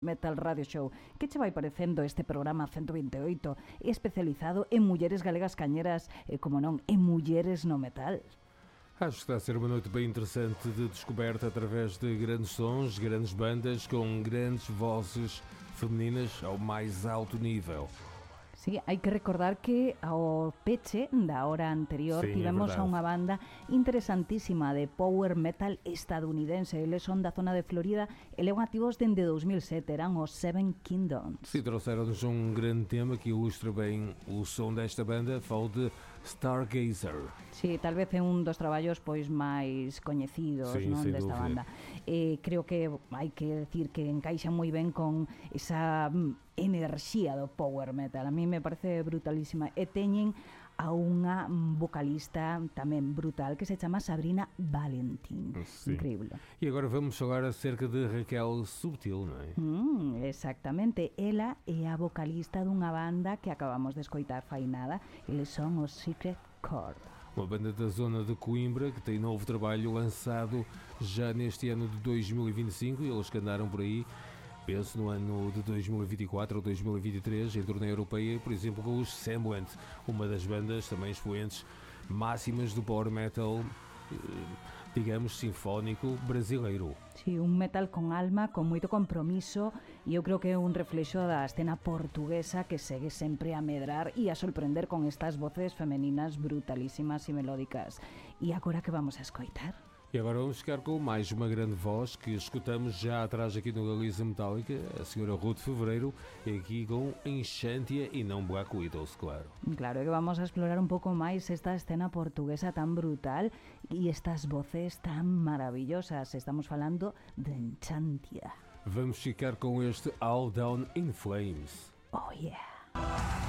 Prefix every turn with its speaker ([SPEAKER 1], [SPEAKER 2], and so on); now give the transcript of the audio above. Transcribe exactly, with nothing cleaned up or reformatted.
[SPEAKER 1] Metal Radio Show. Que che vai parecendo este programa ciento veinte e oito especializado en mulleres galegas cañeras e, como non, en mulleres no metal?
[SPEAKER 2] Acho que está a ser uma noite bem interessante de descoberta através de grandes sons, grandes bandas com grandes vozes femininas ao mais alto nível.
[SPEAKER 1] Sí, hai que recordar que ao peche da hora anterior
[SPEAKER 2] sí,
[SPEAKER 1] tivemos a unha banda interesantísima de power metal estadounidense. Eles son da zona de Florida e levan activos dende dos mil sete, eran os Seven Kingdoms.
[SPEAKER 2] Sim, trouxeram-nos um grande tema que ilustra bem o som desta banda, falo de Stargazer.
[SPEAKER 1] Sí, tal vez é un dos traballos pois máis coñecidos,
[SPEAKER 2] sí,
[SPEAKER 1] non, desta
[SPEAKER 2] dúvida.
[SPEAKER 1] banda. Eh, creo que hai que decir que encaixa moi ben con esa enerxía do power metal. A mí me parece brutalísima. E teñen a unha vocalista tamén brutal que se chama Sabrina Valentin.
[SPEAKER 2] Sí.
[SPEAKER 1] Increíble.
[SPEAKER 2] E agora vamos falar acerca de Raquel Subtil, non é?
[SPEAKER 1] Mm, exactamente. Ela é a vocalista dunha banda que acabamos de escoitar fai nada. Eles son os Secret Chord.
[SPEAKER 2] Uma banda da zona de Coimbra que tem novo trabalho lançado já neste ano de dois mil e vinte e cinco, e eles que andaram por aí, penso no ano de dois mil e vinte e quatro ou dois mil e vinte e três, em turnê europeia, por exemplo com os Semblant, uma das bandas também expoentes máximas do power metal, digamos, sinfónico brasileiro.
[SPEAKER 1] Sí, un metal con alma, con moito compromiso, e eu creo que é un reflexo da escena portuguesa que segue sempre a medrar e a sorprender con estas voces femeninas brutalísimas e melódicas. E agora que vamos a escoitar?
[SPEAKER 2] E agora vamos ficar com mais uma grande voz que escutamos já atrás aqui no Galiza Metálica, a senhora Ruth Fevereiro, e aqui com Enchantia e não Black Widows, claro.
[SPEAKER 1] Claro, que vamos a explorar un pouco máis esta escena portuguesa tan brutal e estas voces tan maravillosas. Estamos falando de Enchantia.
[SPEAKER 2] Vamos ficar com este All Down in Flames.
[SPEAKER 1] Oh yeah!